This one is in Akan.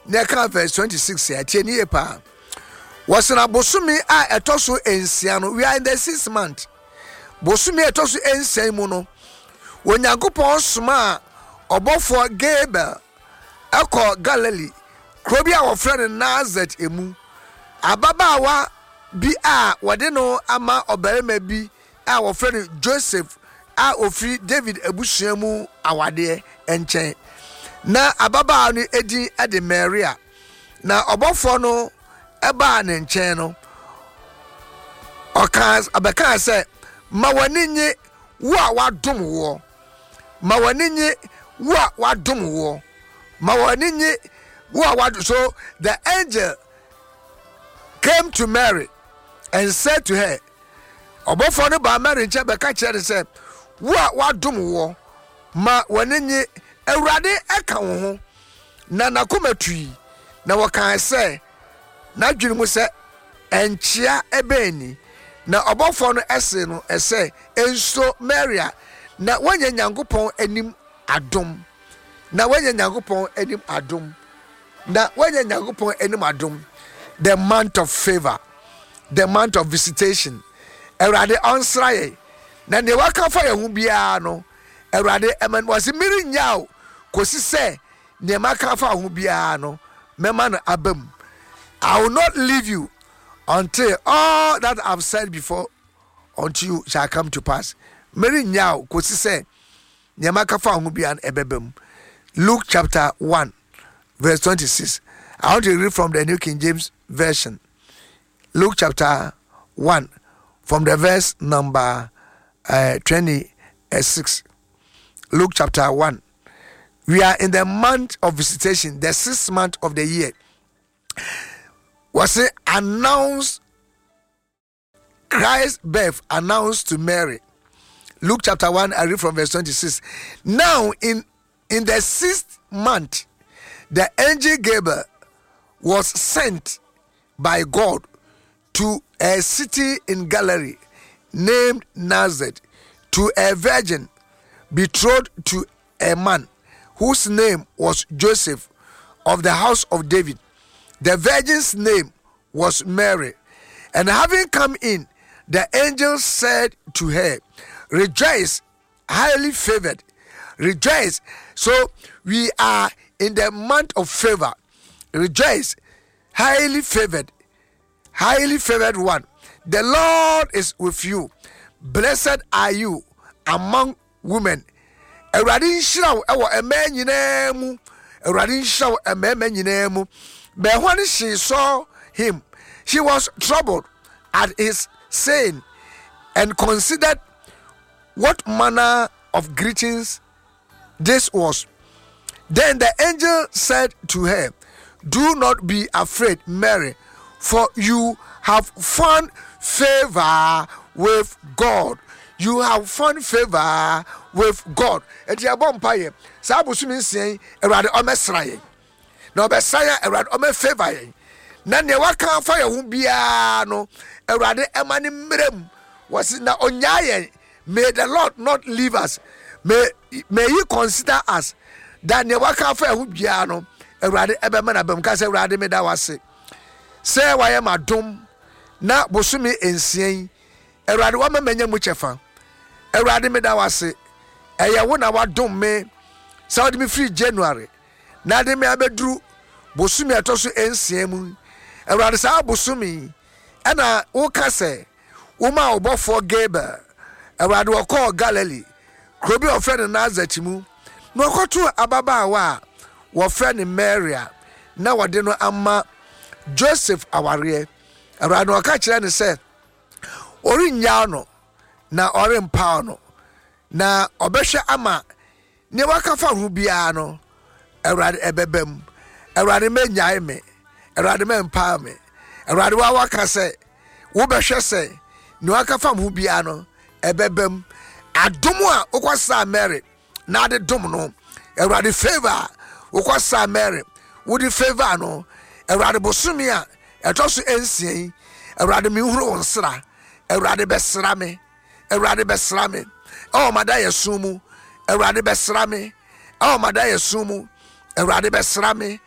na ɛka verse 26 a tie ne yie paa. Wɔsena bosome a ɛtɔ so nsia no, we are in the sixth month. Bosome a ɛtɔ so nsia mu no, Onyankopɔn somaa ɔbɔfoɔ Gabriel ɛkɔ Galilee kuro bi a wɔfrɛ no Nazareth mu. Ababaawa bi a wɔde no ama ɔbarima bi a wɔfrɛ no Joseph a ɔfiri David abusua mu awadeɛ nkyɛn. Na ababaawa no edin de Maria. Na ɔbɔfoɔ no baa ne nkyɛn no, ɔkaa ɔbɛkaa sɛ, Ma w'ani nye wo a wadom woɔ. Ma w'ani nye wo a wadom woɔ. Ma w'ani nye wo a wadom. So the angel came to Mary and said to her, Ɔbɔfoɔ no baa Mary nkyɛn bɛka kyerɛ no sɛ, Wo a wadom woɔ, ma w'ani nye, Awurade ka wo ho. Na n'akoma tui, na wɔkaa sɛ n'adwene mu sɛ, Nkyea bɛn ni? Na ɔbɔfoɔ no see no sɛ, Nsuro, Maria, na woanya Nyankopɔn anim adom. Na woanya Nyankopɔn anim adom. Na woanya Nyankopɔn anim adom. The month of favor, the month of visitation. Awurade ɔnsra yɛn. Na nea waka fa yɛn ho biara no, Awurade ɛma no wɔsi merennyaw wo kɔsi sɛ nea maka afa wo ho biara no mɛma no aba mu. I will not leave you until all that I've said before unto you shall come to pass. Merennyaw wo kɔsi sɛ nea maka fa wo ho biara no ɛbɛba mu. Luke chapter 1 verse 26. I want to read from the New King James Version. Luke chapter 1 from the verse number uh, 26. Luke chapter 1. We are in the month of visitation, the sixth month of the year. Was it announced Christ's birth announced to Mary? Luke chapter 1, I read from verse 26. Now, in, in the sixth month, the angel Gabriel was sent by God to a city in Galilee named Nazareth to a virgin betrothed to a man whose name was Joseph of the house of David. The virgin's name was Mary. And having come in, the angel said to her, Rejoice, highly favored. Rejoice. So we are in the month of favor. Rejoice, highly favored, highly favored one. The Lord is with you. Blessed are you among women. Awurade nhyira wo wɔ mmaa nyinaa mu. Awurade nhyira wo mmarima nyinaa mu. But when she saw him, she was troubled at his saying and considered what manner of greetings this was. Then the angel said to her, Do not be afraid, Mary, for you have found favor with God. You have found favor with God. Eti ɛbɔ mpa yɛ saa abosom nsia yi Awurade ɔmɛsra yɛn na ɔbɛsra yɛn Awurade ɔmɛ favor yɛn na nea waka afa yɛn ho biara no Awurade ɛma ne mmerɛ mu wɔsi na onyaa yɛn May the Lord not leave us. May, may he consider us that nea waka afa ɛho biara no, Awurade ɛbɛma no abam. Ka sɛ, Awurade meda wase sɛ wayɛ m'adom na bosome nsia yi, Awurade wama manya mu kyɛfa. Awurade meda wase, ɛyɛ wo na wadom me sɛ wode me firi January na de me abɛduru bosome a ɛtɔ so nsia mu. Awurade saa bosome yi ɛna woka sɛ Womaa ɔbɔfoɔ Gabriel, Awurade, ɔkɔɔ Galilee, kuro bi a wɔfrɛ no Nasaret mu, na ɔkɔtoo ababaawa a wɔfrɛ no Mary a na wɔde no ama Joseph awareɛ. Awurade na ɔka kyerɛ no sɛ ɔrennyaw no na ɔrempaw no, na ɔbɛhwɛ ama Nea waka fa ho biara no, Awurade, ɛbɛba mu. Awurade, mɛnyae me. Awurade, mɛmpaa me. Awurade, wa waka sɛ wobɛhwɛ sɛ nea waka fa ho biara no, ɛbɛba mu. Adom a wokɔsaa Mary na ade dom no, Awurade favor a wokɔsaa Mary wode favor no, Awurade bosome a ɛtɔ so nsia yi, Awurade menhunu wo nsra. Awurade bɛsra me. Awurade bɛsra me ɛwɔ m'adayɛso mu. Awurade bɛsra me ɛwɔ m'adayɛso mu. Awurade bɛsra me.